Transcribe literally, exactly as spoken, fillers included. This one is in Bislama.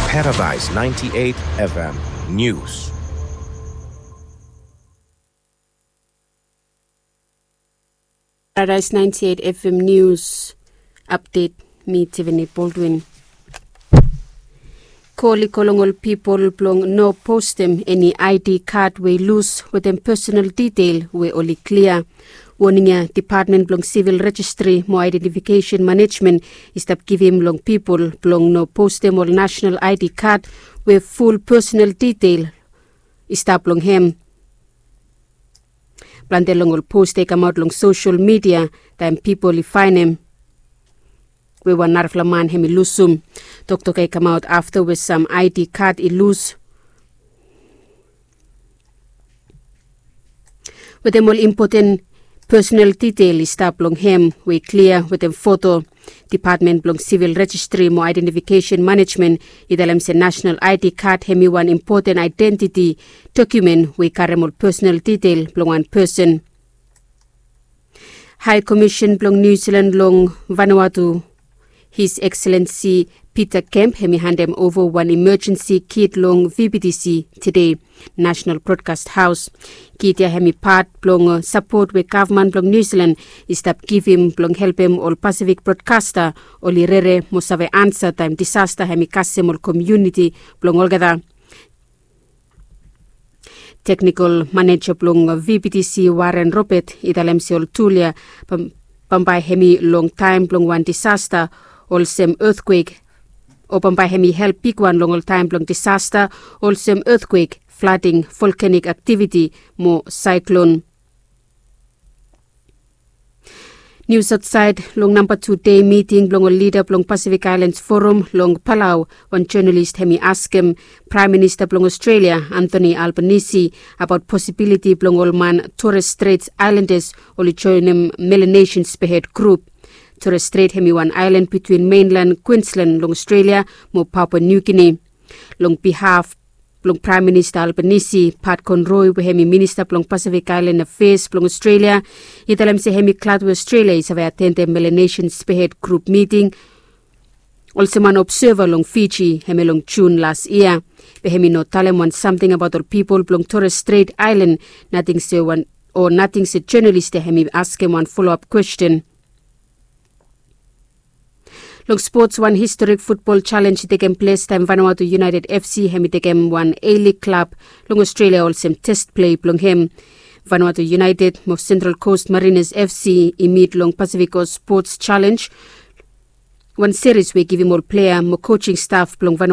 Paradise ninety-eight F M News. Paradise ninety-eight F M News Update. Mi Tiffany Baldwin. Kol i go long ol pipol blong no postem eni I D kad we i lus wetem personal detail we oli klia. Woning ya Depatmen blong Sivil Rejistri mo Aedentifikesen Manejmen i stap givim long pipol blong no postem ol nasonal I D kad we ful personal detail i stap long hem. Plante long ol post i kamaot long sosel midia taem pipol i faenem we wan narafala man hem i lusum. Toktok ya i kamaot afta we sam I D kad i lus wetem ol impoten personal detail i stap long hem we i klia wetem foto. Depatmen blong Sivil Rejistri mo Aedentifikesen Manejmen i talem se nasonal I D kad hem i wan impoten aedentiti dokumen we i karem ol personal detail blong wan pesen. Hae Komisen blong Niu Silan long Vanuatu, His Excellency Peter Kemp, hem i handem ova wan imajensi kit long V B T C tede, National Broadcast House. Kit ya hem i pat blong sapot we gavman blong Niu Silan i stap givim blong helpem ol Pasifik brodkasta oli rere mo save ansa taem disasta hem i kasem ol komuniti blong olgeta. Teknikol maneja blong V B T C, Warren Robert, i talem se ol tul ya bambae hem i long taem blong wan disasta olsem etkwek, o bambae hem i help bigwan long ol taem blong disasta olsem etkwek, flading, volkanik aktiviti mo saeklon. Nius aotsaed. Long namba tu dei miting blong ol lida blong Pasifik Aelans Forum long Palau, wan jonalis hem i askem Praem Minista blong Australia, Anthony Albanese, abaot posibiliti blong ol man Torres Strait Islanders oli joenem Melanesian Spearhead Group. Torres Strait hem i wan aelan bitwin menlan Queensland long Australia mo Papua New Guinea. Long bihaf blong Praem Minista Albanese, Pat Conroy we hem i Minista blong Pasifik Aelan Afeas blong Australia, i talem se hem i glad we Australia i save atendem Melanesian Spearhead Group miting olsem wan obseva long Fiji hemia long Jun las yia. Be hem i no talem wan samting abaot ol pipol blong Torres Strait Aelan, nating se wan, o nating se jonalis ya hem i askem wan foloap kwesten. Long spots, wan historik futbol jalenj i tekem ples taem Vanuatu United F C hem i tekem wan A-League klab long Australia olsem test plei blong hem. Vanuatu United mo Central Coast Mariners F C i mit long Pasifik Coast Spots Jalenj, wan seris we i givim ol plea mo kojing staf blong Vanuatu